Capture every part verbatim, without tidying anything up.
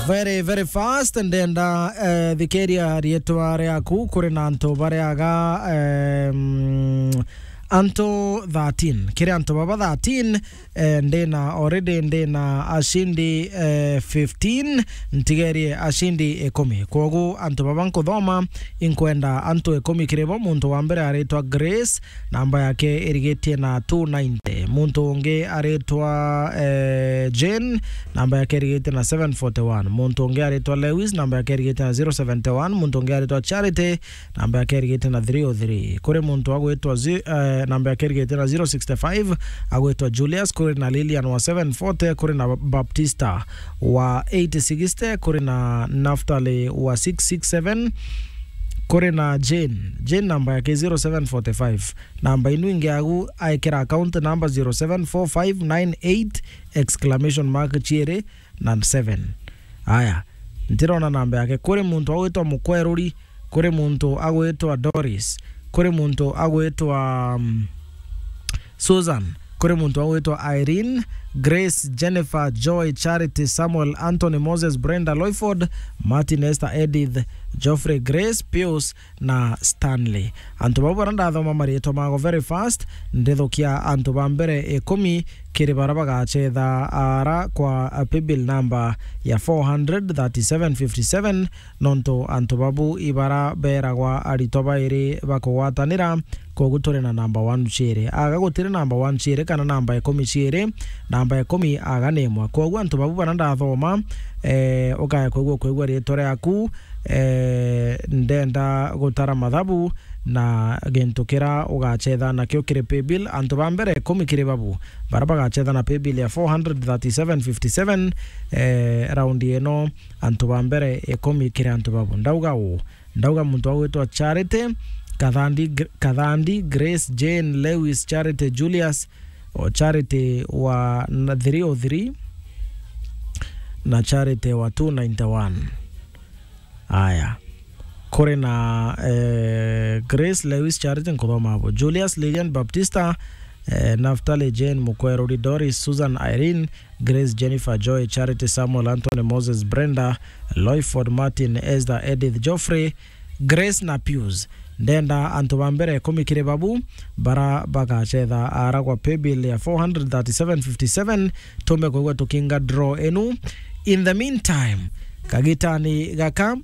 Very, very fast, ndenda, eh, thikiria rietwa riaku kuri na antu bariaga, em, antu thirteen. Kiri antu baba thirteen, eh, ndina already, ndina ashindi, eh, fifteen, ntigerie ashindi ikumi. Kwogu antu baba nkuthoma, inkwenda antu ikumi kiri bo. Muntu wa mbere aritwa Grace, namba yake irigitie na two ninety. Muntu ungi aritwa, eh, Jane, namba yake irigitie na seven forty-one. Muntu ungi aritwa Lewis, namba yake irigitie na zero seventy-one. Muntu ungi aritwa Charity, namba yake irigitie na three oh three. Kuri muntu agwitwa zi-, eh, namba yake irigitie na zero sixty-five, agwitwa Julius, kuri na Lilian wa seven forty, kuri na Baptista wa eight sixty, kuri na Naftali wa six six seven, kuri na Jane. Jane namba yake zero seven forty-five. Namba inu ingi agu aikira account number zero seven four five nine eight exclamation mark chiiri na seven. Aya, ntirona namba yake. Kuri muntu agwitwa Mukweruri, kuri muntu agwitwa Doris, kuri muntu agwitwa, um, Susan, kuri muntu agwitwa Irene, Grace, Jennifer, Joy, Charity, Samuel, Anthony, Moses, Brenda, Loyford, Martin, Esther, Edith, Geoffrey, Grace, Pius, na Stanley. Antu bau bara ndathoma marietwa mago very fast, ndithukia antu ba mbere ikumi kiri bara bagachetha ara kwa, uh, paybill number ya four hundred thirty-seven fifty-seven, nontu antu babu ibara beragwa aritwa bairi bakugwatanira, kogu turi na number one chiiri. Aga gutiri number one chiiri kana number ikumi chiiri, number ikumi aga ni imwe. Kogu antu babu bara ndathoma, eh, ukaya kwigua, kwigua rietwa riaku, eh, ndenda gutara mathabu na gintu kira ugachetha nakio kiri paybill. Antu ba mbere ikumi kiri babu bara bagachetha na paybill ya four hundred thirty-seven fifty-seven, eh, round ino, antu ba mbere ikumi kiri antu babu. Ndauga uu, ndauga muntu agwitwa Charity, Kathandi, Gr-, Kathandi, Grace, Jane, Lewis, Charity, Julius, o Charity wa na three oh three, na Charity wa two ninety-one. Aya. Kuri na, eh, Grace, Lewis, Charity, nkuthoma abo. Julius, Lilian, Baptista, eh, Naftali, Jane, Mukweruri, Doris, Susan, Irene, Grace, Jennifer, Joy, Charity, Samuel, Anthony, Moses, Brenda, Loyford, Martin, Esther, Edith, Geoffrey, Grace na Pius. Ndenda antu ba mbere ikumi kiri babu bara bagachetha ara kwa paybill ya four hundred thirty-seven fifty-seven, tumbe kwigua tukinga draw inu. In the meantime, kagitani gaka,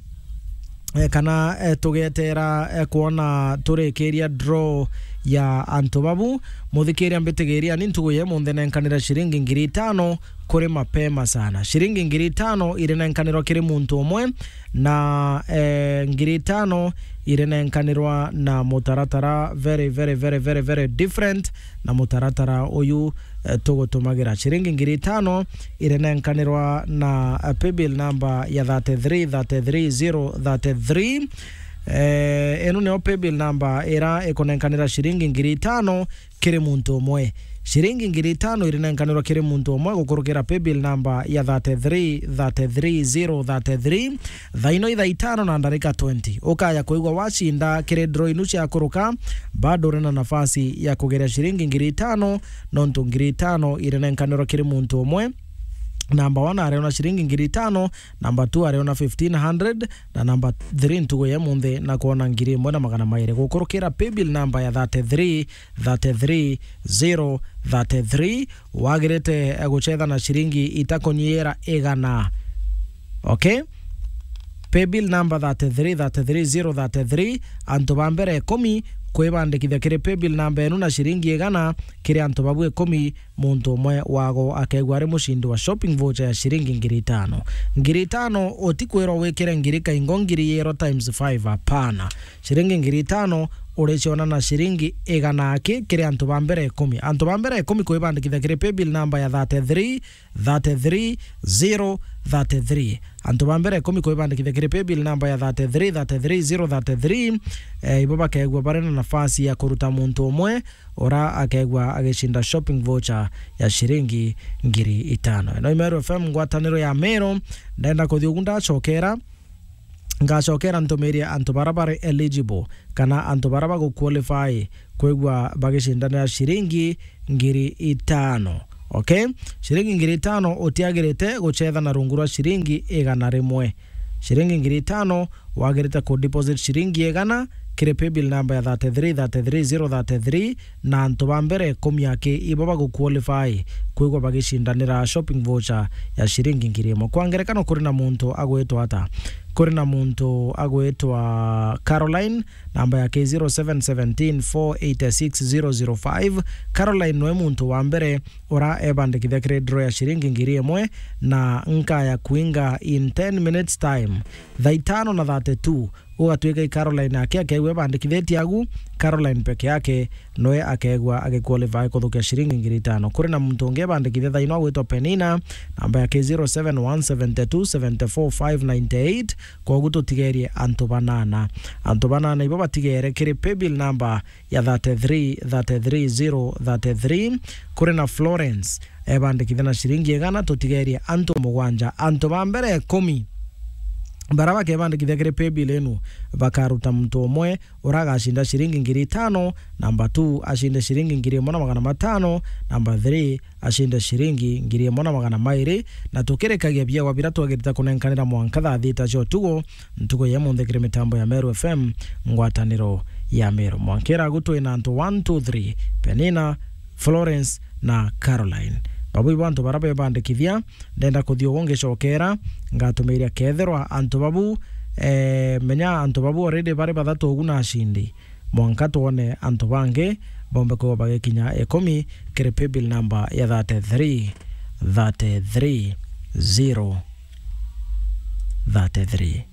eh, kana, eh, tugetera, eh, kwona turikiria draw ya antu babu, muthikiria mbitigiria ni ntugu ya imunthe nenkanira ciringi ngiri itano kuri mapema sana. Ciringi ngiri itano irinenkanirwa kiri muntu umwe, na, eh, ngiri itano irinenkanirwa na mutaratara very, very, very, very, very different na mutaratara uyu, eh, tugutumagira. Ciringi ngiri itano irinenkanirwa na, eh, paybill number ya thirty-three thirty-three zero thirty-three. Eh, ino niyo paybill number ira ikunenkanira ciringi ngiri itano kiri muntu umwe. Ciringi ngiri itano irinenkanirwa kiri muntu umwe gukurukira paybill number ya thirty-three thirty-three zero thirty-three. Thaino ithaa itano na ndarika twenty, ukaya kwigua wacinda kiri draw inu ciakuruka, bado uri na nafasi ya kugeria ciringi ngiri itano, nontu ngiri itano irinenkanirwa kiri muntu umwe. Number one ariona ciringi ngiri itano, number two ariona fifteen hundred, na number three ntugu ya imunthi na kwona ngiri imwe na magana mairi gukurukira paybill number ya thirty-three thirty-three zero thirty-three. Wagirite, eh, guchetha na ciringi itakunyiira igana. Okay? Paybill number thirty-three thirty-three zero thirty-three, antu ba mbere ikumi kwibandikithia kiri paybill number enu na ciringi igana kiri antu babu ikumi, muntu umwe wago akegua ari mucindi wa shopping voucher ya ciringi ngiri itano. Ngiri itano utikwirwa wikire ngiri kaingo ngiri yero times five, hapana. Ciringi ngiri itano uriciona na ciringi igana aki kiri antu ba mbere ikumi. Antu ba mbere ikumi kwibandikithia kiri paybill number ya thirty-three thirty-three zero thirty-three. Antu ba mbere ikumi kwibandikithia kiri paybill number ya thirty-three thirty-three zero thirty-three, eh, ibo bakegua bari na nafasi ya kuruta muntu umwe ura akegua agicinda shopping voucher ya ciringi ngiri itano. Ino i Meru F M, ngwataniro ya Meru. Ndenda kuthi ugu ndacokera, ngacokera ntumirie antu bara bari eligible kana antu bara baguqualify kwigua bagicindanira ciringi ngiri itano. Okay? Ciringi ngiri itano utiagirite gucetha na rungu rwa ciringi igana rimwe. Ciringi ngiri itano wagirite ku deposit ciringi igana kiri paybill number ya thirty-three thirty-three zero thirty-three, na antu ba mbere ikumi aki ibo baguqualify kwigwa bagicindanira shopping voucher ya ciringi ngiri imwe. Kwa ngerekano, kuri na muntu agwitwa ata? Kuri na muntu agwitwa Caroline, namba yake zero seven seventeen four eight six zero zero five. Caroline noe muntu wa mbere ura ebandikithia kiri draw ya ciringi ngiri imwe, na nkaya kuinga in ten minutes time. Thaa itano na thirty-two, ugatwika i Caroline ake akegua ebandikithitie agu, Caroline peke yake noe akegua agiqualify kuthukia ciringi ngiri itano. Kuri na muntu ungi ebandikithia thaa ino agwitwa Penina, namba yake zero seven one seven two seven four five nine eight. Kogu tutigerie antu banana. Antu banana ibo batigere kiri paybill number ya thirty-three thirty-three zero thirty-three. Kuri na Florence ebandikithia na ciringi igana, tutigerie antu mugwanja. Antu ba mbere ikumi bara bakebandikithia kiri paybill inu bakaruta muntu umwe ura agacinda ciringi ngiri itano, namba two acinde ciringi ngiri imwe na magana matano, namba three acinde ciringi ngiri imwe na magana mairi, na tukirikagia biawa bira twagirite kunenkanira mwanka thaa thita cia utuku, ntuku ya imunthi kiri mitambo ya Meru F M, ngwataniro ya Meru. Mwanka iragu twina antu one, two, three, Penina, Florence na Caroline. Babu ibo antu bara bebandikithia, ndenda kuthia ugu ngicokera, ngatumiria kethirwa antu babu, eh, menya antu babu already bari bathatu ugu na acindi. Mwanka twone antu bangi bombe kwigwa bagikinya ikumi kiri paybill number ya thirty-three thirty-three zero thirty-three.